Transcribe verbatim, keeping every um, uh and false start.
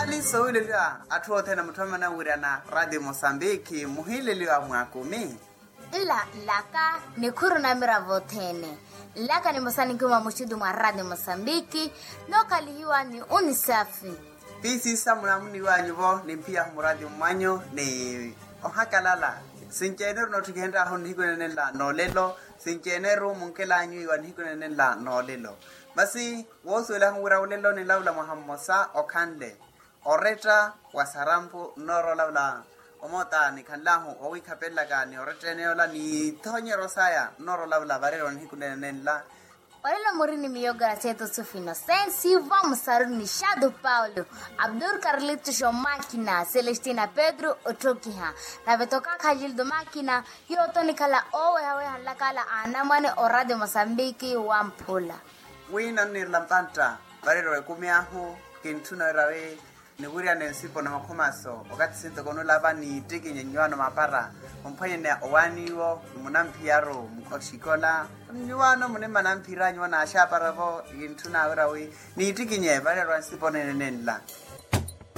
Nali sowileliwa atthu othene mutthu amanawirana radio mosambiki muhiileliwa mwaakumi. Nla nlaka nikhuru na miravo othene. Nlaka nimosa ninkuma muxutu mwa radio mosambiki. Nookhalihiwa ni unisafi. Piisisa munamuniwanyu-vo nimphiyahu muraati mmanyu ni ohakalala. Sinci-ene-ru noottikihenry'ahu nihiku nenenla noolelo. Sinci-ene-ru munkelanyu iwa nihiku nenenla noolelo. Masi woosuwel'ahu wira olelo ninlavula mwaha mmosa okhanle oretta wa sarampu nnoorolavula. Omoota nikhanlahu owiikhapelelaka ni oretta ene yoola ni ithonyeryo saya nnoorolavula vareryo nihiku nenenla. Olelo muri ni miyo graceto sufi inosensi vamusaruni xatu paulo, abdul carlitos omakina celestina pedro otthokiha. Nave toka khalildo makina. Yooto nikhala owehaweha nlakala anamwane oradio mosambiki wamphula. Wi nanniirela mpantta vareryo ekumi ahu. Kintthuna wirawi niwiriyana ensipo na makhumaso okathi sintoko nulava niittikinye nyuwaano mapara. Omphwanyaneya owaani iwo ni munamphiyaru oxikola. Nyuwaano munimma namphira nyuwo naaxaapara-vo. Kintthuna wirawi niittikinye vareryo ensipo nenenla.